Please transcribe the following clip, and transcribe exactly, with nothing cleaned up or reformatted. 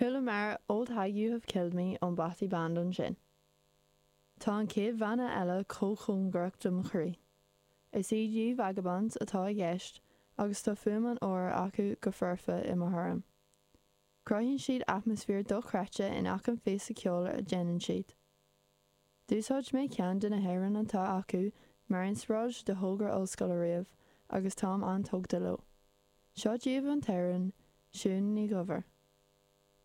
Chualamar 'Old Hag You Have Killed Me' ón Bothy Band ansin. Tá an chéad bhanna eile chomh cóngarach do mo chroí. Is iad Ye Vagabonds atá i gceist agus tá fuaim an óir acu go foirfe i mo thuairim. Cruthaíonn siad atmaisféar dochreidte in achan phíosa ceoil a dhéanann siad. D'úsáid mé ceann de na hamhráin atá acu mar inspioráid do thogra ollscoile riamh agus táim an-tógtha leo. Seo díobh an t-amhrán Siún Ní Dhuibhir.